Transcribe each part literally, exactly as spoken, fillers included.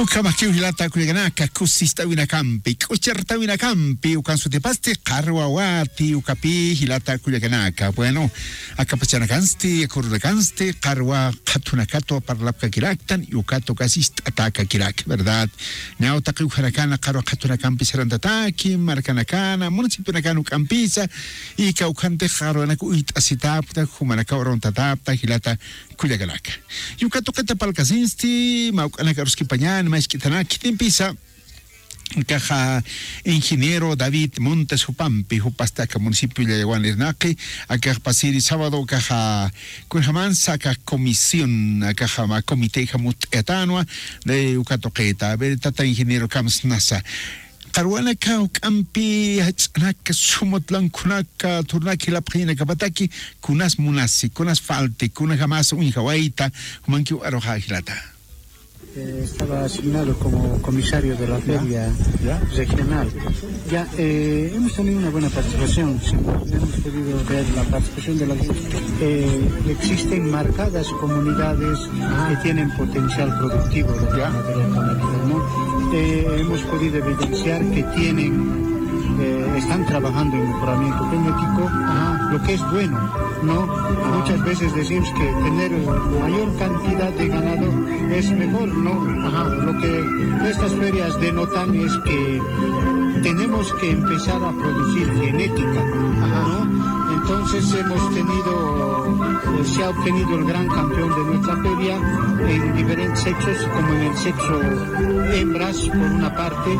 Ukhamakiw jilata kullakanaka, kusist'awinakampi, k'uchartawinakampi, ukan sutipasti qarwawati, ukapi jilata kullakanaka. Bueno, akapachanakansti, yakurunakansti, qarwa qhatunakatwa parlapkakiraktan, y ukatu kasist'atakakirak, ¿verdad? Ñaw taqi ukhanakana qarwa qhatunakampi sarantataki, markanakana, municipionakana uk'ampisa, y kawkhanti qarwanak uyt'asitapta, jumanaka uruntatapta, jilata kullakanaka. Yuka tuqita palkasinsti, mawk'anaka aruskipañan, mask'itanaka, khitimpisa, akaxa ingeniero David Montes jupampi, jupasti aka municipio Llallawan irnaqi, akax pasiri sábado, akaxa, kunjamansa aka comisión, akaxa ma comité jamutt'ayatanwa, de uka tuqita, a ver, tata ingeniero, kamsnasa. Qarwanaka juk'ampi jach'anaka, sumut lankunaka, turnak jilapxañanakapataki, kunas munasi, kunas falti, kunajamasa uñjawayta, jumankiw aruxa jilata. Eh, estaba asignado como comisario de la feria regional. Ya, eh, hemos tenido una buena participación. Hemos podido ver la participación de la, eh, existen marcadas comunidades que tienen potencial productivo de la ganadería canábica, ¿no? Eh, hemos podido evidenciar que tienen, eh, están trabajando en mejoramiento genético, lo que es bueno, ¿no? Muchas veces decimos que tener mayor cantidad de ganado es mejor, ¿no? Lo que estas ferias denotan es que tenemos que empezar a producir genética, ¿no? Entonces hemos tenido, eh, se ha obtenido el gran campeón de nuestra feria en diferentes sexos, como en el sexo hembras por una parte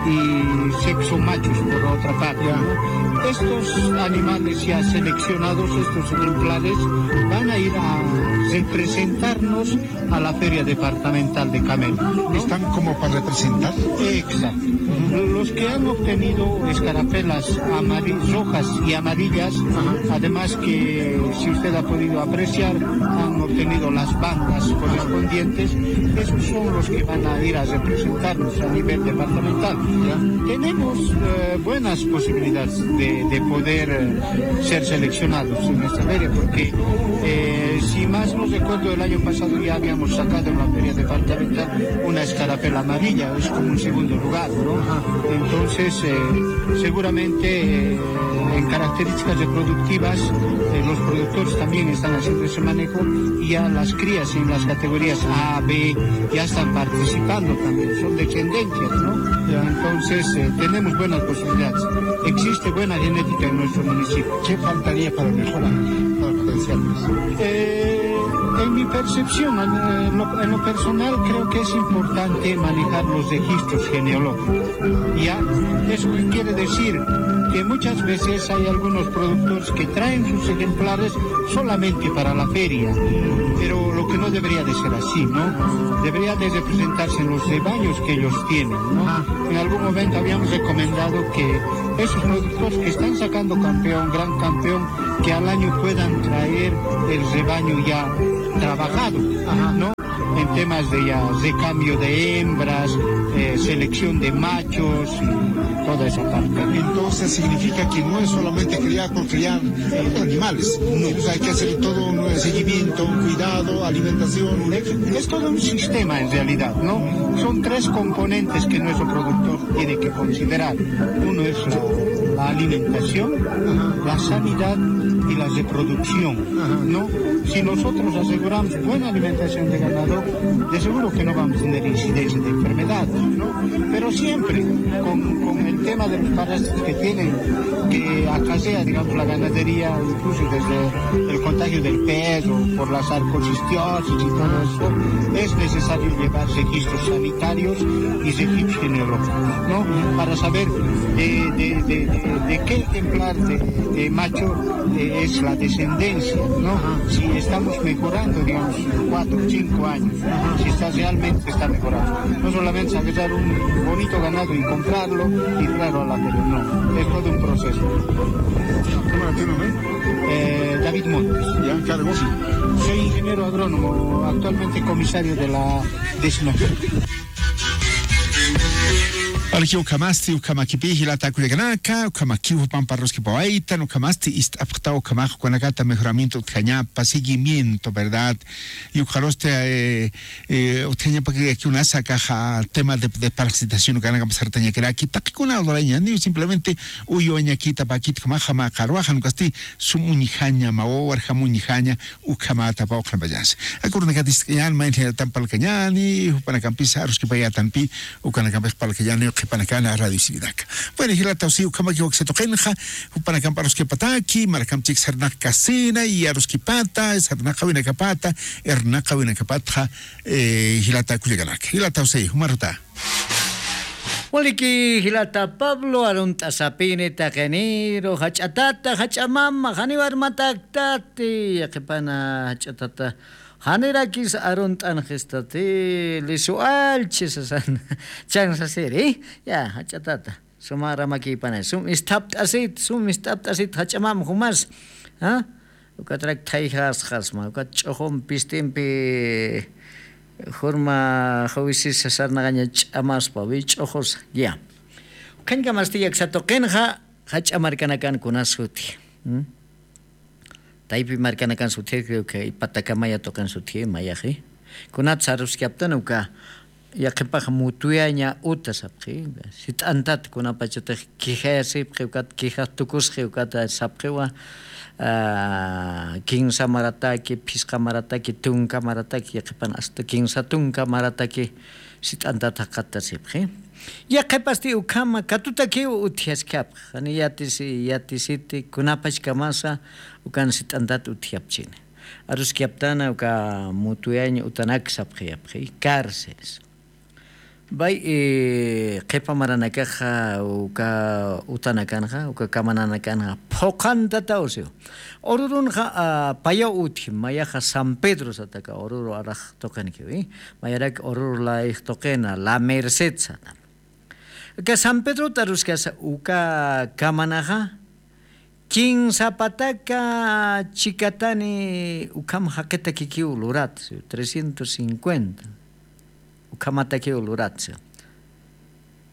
y sexo machos por otra parte, ¿no? Estos animales ya seleccionados, estos ejemplares, van a ir a representarnos a la Feria Departamental de Camelia, ¿no? ¿Están como para representar? Exacto. Los que han obtenido escarapelas amari-, rojas y amarillas, además que, si usted ha podido apreciar, han obtenido las bandas correspondientes, esos son los que van a ir a representarnos a nivel departamental. Tenemos, eh, buenas posibilidades de, de poder, eh, ser seleccionados en esta feria, porque, eh, si más no recuerdo, el año pasado ya habíamos sacado en la feria departamental una escarapela amarilla, es como un segundo lugar, ¿no? Entonces, eh, seguramente, eh, en características reproductivas, eh, los productores también están haciendo ese manejo y ya las crías en las categorías A, B, ya están participando también, son descendencias, ¿no? Entonces, eh, tenemos buenas posibilidades. Existe buena genética en nuestro municipio. ¿Qué faltaría para mejorar, para potenciar más? Eh, en mi percepción, en, en lo, en lo personal, creo que es importante manejar los registros genealógicos. Ya, eso quiere decir que muchas veces hay algunos productores que traen sus ejemplares solamente para la feria, pero lo que no debería de ser así, ¿no? Debería de representarse en los rebaños que ellos tienen, ¿no? En algún momento habíamos recomendado que esos productores que están sacando campeón, gran campeón, que al año puedan traer el rebaño ya trabajado, ¿no? En temas de ya recambio de hembras, eh, selección de machos y toda esa parte. Entonces significa que no es solamente criar por criar, eh, animales, sino que hay que hacer todo un, eh, seguimiento, un cuidado, alimentación, un... Es todo un sistema en realidad, ¿no? Son tres componentes que nuestro productor tiene que considerar. Uno es la, la alimentación, la sanidad y la reproducción, ¿no? Si nosotros aseguramos buena alimentación de ganado, de seguro que no vamos a tener incidencia de enfermedades, ¿no? Pero siempre con, con el tema de los parásitos que tienen, que acarrea, digamos, la ganadería, incluso desde el contagio del pez o por la sarcoidosis y todo eso, es necesario llevar registros sanitarios y registros genealógicos, ¿no? Para saber de, de, de, de, de qué ejemplar de, de macho, eh, es la descendencia, ¿no? Si estamos mejorando, digamos, cuatro o cinco años, si está realmente está mejorando. No solamente es agarrar un bonito ganado y comprarlo y traerlo a la feria, no. Es todo un proceso. ¿Cómo era tu nombre? Eh, David Montes. ¿Ya? ¿Cargo? Sí. Soy ingeniero agrónomo, actualmente comisario de la décima. Walikiw ukhamasti, ukhamakipï jilata kullakanaka, ukhamakiw jupan parruskipawaytan, ukhamasti ist'apxtaw ukhamax ukanakata mejoramiento utjañapa, seguimiento, ¿verdad? Y ukxarusti, eh, eh, utjañapakiw unas akaxa tema de, de parasitación ukanakam sartañakiraki, taqikuna lurañaniw simplemente uywañakita pakit ukhamaxa mä qarwaxa, ukasti sum uñjaña, mä wawarjam uñjaña, ukhamata pawqhanpachas. Akurunakatix ist'kañän, mayni jilatan parlkañäni, jupanakampis aruskipayätanpï, ukanakampix parlkañäni, qhipanakana radio Sirinak. Bueno, jilataw, si ukhamaki waksatuqinxa, jupanakamp aruskipataki, markamp chik sarnaq kasina, y aruskipata, sarnaqawinakapata, irnaqawinakapatxa, eh, jilata kullakanak. Jilataw, si, jumaruta. Waliki jilata Pablo, arunt'asapini taqiniru, jach'a tata, jach'a mama, janiw armataktati, yaqhipana jach'a tata, janirakis arunt'anxistati, lisu allchi sasan, chan sasiri, ya, jach'a tata, suma ramakïpanay, sum isthapt'asit, sum isthapt'asit, jach'a mama jumas, ¿ah? Ukatrak thayjasxasma, ukat ch'uxum pistimpi jurma juwisisa sarnaqaña ch'amaspa, wich'uxusa, ya. Ukhañkamasti yaksatuqinxa, jach'a markanakan kunas suti. ¿Mm? Taypi markanakan suti, creo que Patakamaya tuqin suti, mayaxi. Kunat saruskaptan uka, yaqhipax Mutuyaña uta sapxi, sit'antat kunapachatix quejayasipxi, ukat quejas tukusxi, ukat sapxiwa, ah, kinsa marataki, phisqa marataki, tunka marataki, yaqhipan hasta kinsa tunka marataki sit'antat jaqattasipxi. Yaqhipasti ukhama katutakiw utjaskapxi, jani yatisi, yatisiti, kunapachkamasa ukan sit'antat utjapchini. Aruskaptana uka Mutuyaña utanak sapxi, yapxi, cárceles. Bay, eh, qhipa maranakaxa uka utanakanxa, uka kamananakanxa, phuqhantataw siw. Ururunxa, ah, payaw utji, mayaxa San Pedro sataka, Ururu arax tuqinkiw, eh. Mayarak Ururu layix tuqina, La Merced sata. Aka San Pedrot aruskasa uka kamanaxa, kinsa pataka chikatani ukham jaqitakikiw lurat, trescientos cincuenta. Ukhamatakiw lurat.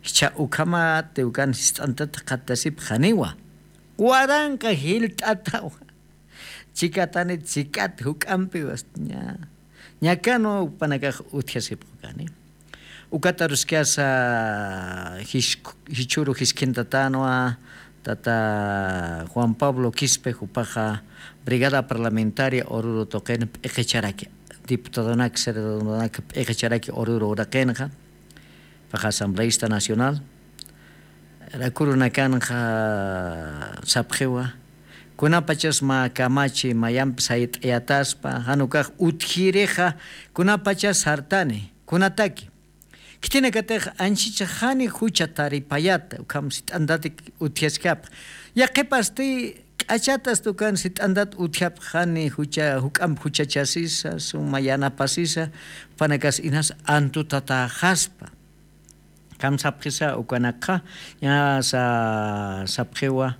Jichha ukhamati ukan sist'antat jaqattasipxaniwa. Waranqa jilt'atawa. Chikatani chikat juk'ampiwa. Ña. Ñakanwa jupanakax utjasipxukani. Ukat aruskasa jis-, jichhüru jiskintatanwa, tata Juan Pablo Quispe, jupaxa brigada parlamentaria Ururu tuqin p'iqicharaki, diputadonak, senadonak p'iqicharaki Ururu uraqinxa, jupaxa asambleísta nacional, rakurunakanxa sapxiwa, kunapachas mä kamachi mayamp sayt'ayataspa, jan ukax utjirixa, kunapachas sartani, kunataki. Khitinakatix anchhichax jani jucha taripayata, ukham sit'antatik utjaskapx. Yaqhipasti k'achatasti ukan sit'antat utjapx jani jucha, juk'amp juchachasisa, suma yanapasisa, jupanakas inas antutatäxaspa. Ukham sapxisa ukanakxa, ña sa-, sapxiwa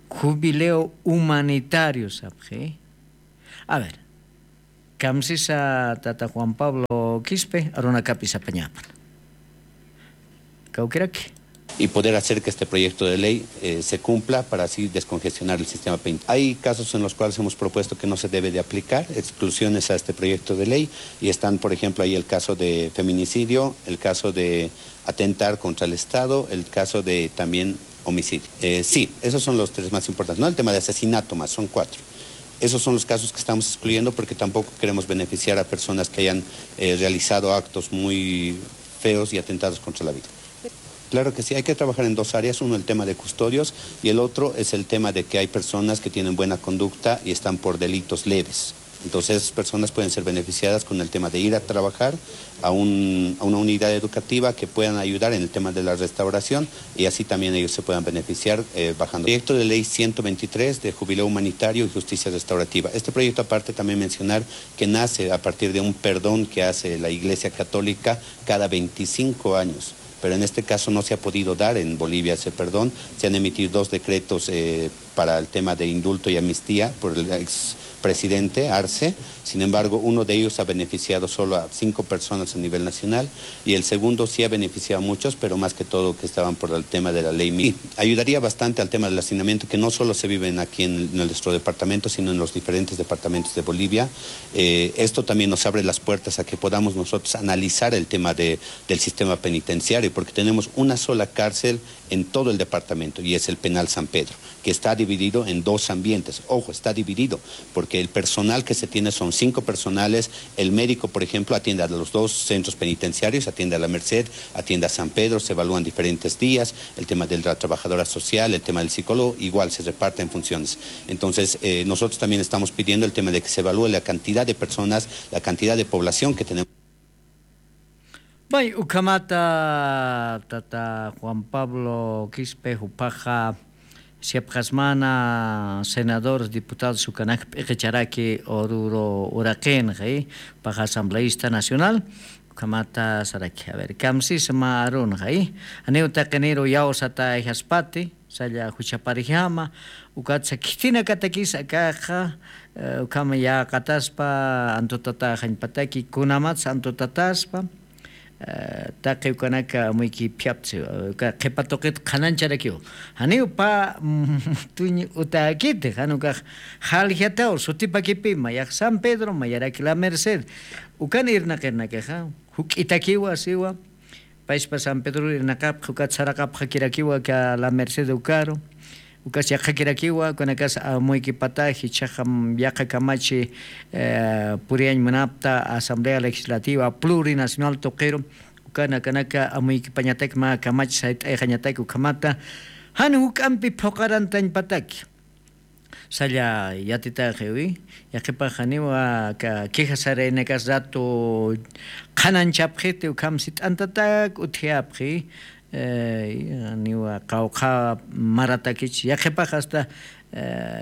jubileo humanitario sapxi. A ver, kamsisa tata Juan Pablo Quispe, arunakapis apañapan. Kawkiraki. Y poder hacer que este proyecto de ley, eh, se cumpla para así descongestionar el sistema penitenciario. Hay casos en los cuales hemos propuesto que no se debe de aplicar exclusiones a este proyecto de ley y están, por ejemplo, ahí el caso de feminicidio, el caso de atentar contra el Estado, el caso de también homicidio. Eh, sí, esos son los tres más importantes, ¿no? El tema de asesinato más, son cuatro. Esos son los casos que estamos excluyendo porque tampoco queremos beneficiar a personas que hayan, eh, realizado actos muy feos y atentados contra la vida. Claro que sí, hay que trabajar en dos áreas, uno el tema de custodios y el otro es el tema de que hay personas que tienen buena conducta y están por delitos leves. Entonces, esas personas pueden ser beneficiadas con el tema de ir a trabajar a un, a una unidad educativa que puedan ayudar en el tema de la restauración y así también ellos se puedan beneficiar, eh, bajando. Proyecto de ley ciento veintitrés de jubileo humanitario y justicia restaurativa. Este proyecto, aparte, también mencionar que nace a partir de un perdón que hace la Iglesia Católica cada veinticinco años. Pero en este caso no se ha podido dar en Bolivia ese perdón. Se han emitido dos decretos, eh, para el tema de indulto y amnistía por el ex presidente Arce. Sin embargo, uno de ellos ha beneficiado solo a cinco personas a nivel nacional y el segundo sí ha beneficiado a muchos, pero más que todo que estaban por el tema de la ley. Ayudaría bastante al tema del hacinamiento, que no solo se viven aquí en nuestro departamento, sino en los diferentes departamentos de Bolivia. Eh, esto también nos abre las puertas a que podamos nosotros analizar el tema de, del sistema penitenciario, porque tenemos una sola cárcel en todo el departamento y es el penal San Pedro, que está dividido en dos ambientes. Ojo, está dividido, porque el personal que se tiene son cinco personales. El médico, por ejemplo, atiende a los dos centros penitenciarios, atiende a La Merced, atiende a San Pedro, se evalúan diferentes días, el tema de la trabajadora social, el tema del psicólogo, igual se reparten funciones. Entonces, eh, nosotros también estamos pidiendo el tema de que se evalúe la cantidad de personas, la cantidad de población que tenemos. May ukhamata tata Juan Pablo Quispe jupaxa siapxasmana senadores diputados ukanak p'iqicharaki ururu uraqinxi paxa asambleísta nacional. Ukhamata saraki a ver kamsisma arunxi aniw taqiniru yawsata ijaspati salla juchaparijama. Ukatsa khitinakatakis akaxa ukhama yaqataspa antutataxañpataki kunamatsa antutataspa. Taqi ukanaka amuyki phiaptsi uka qhipa tuqit qhanañcharakiw janiw pa tuñ utakiti jan ukax jaljataw sutipakipima yax san pedro mayaraki la merced. Ukan irnaqirnakaxa juk'itakiwa siwa. Payspa san pedro irnaqapxa ukat saraqapxakirakiwa ka la merced ukaru. Ukas yaqhakirakiwa ukanakas amuykipatax jichhaxa yaqa kamachi puriyañ munapta asamblea legislativa plurinacional tuqiru. Ukanakanaka amuykipañatak mä kamachi sayt'ayxañatak ukhamata jan juk'ampi phuqarantañpatak. Salla yatitaxiwi yaqipaxaniwa ka queja saraynakas rato qhananchapxiti ukham sit'antatak utjayapxi. Niwa qawqha maratakich yaqipax asta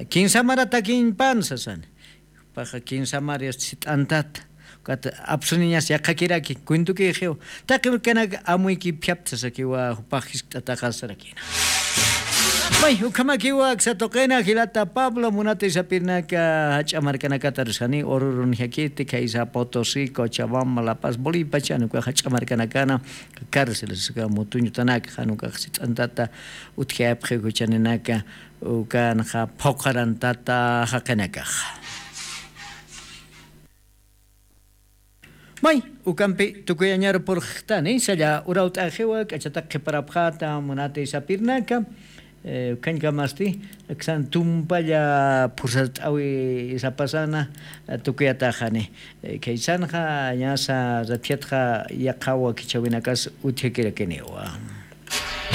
kinsa maratakiñpan sasani. Paxa kinsa mari asta sit'antata ukat apsuniñas yaqhakiraki cuentokixiw. Taqi urkanak amuyki phiapta sasakiwa jupax jiskt'ataxa sarakina. May ukhamakiwa aksa tuqina jilata pablo munata isapirnaka jach'a markanakata aruskani ururunjakiti khaysa potosí cochabamba la paz bolipachan uka jach'a markanakana cárceles uka mutuñutanaka jan ukax sit'antata utjayapxi juchaninaka. Ukanxa phuqarantata jaqinakaxa. May ukampi tukuyañaru purxtani salla urawt'axiwa k'achatak qhiparapxata munati sapirnaka. Ukhañkamasti aksan tumpalla phursatt'awi sapasana. Tukuyataxani khaysanxa ñasa ratjatxa yaqhawa khichhawinakas utjakirakiniwa.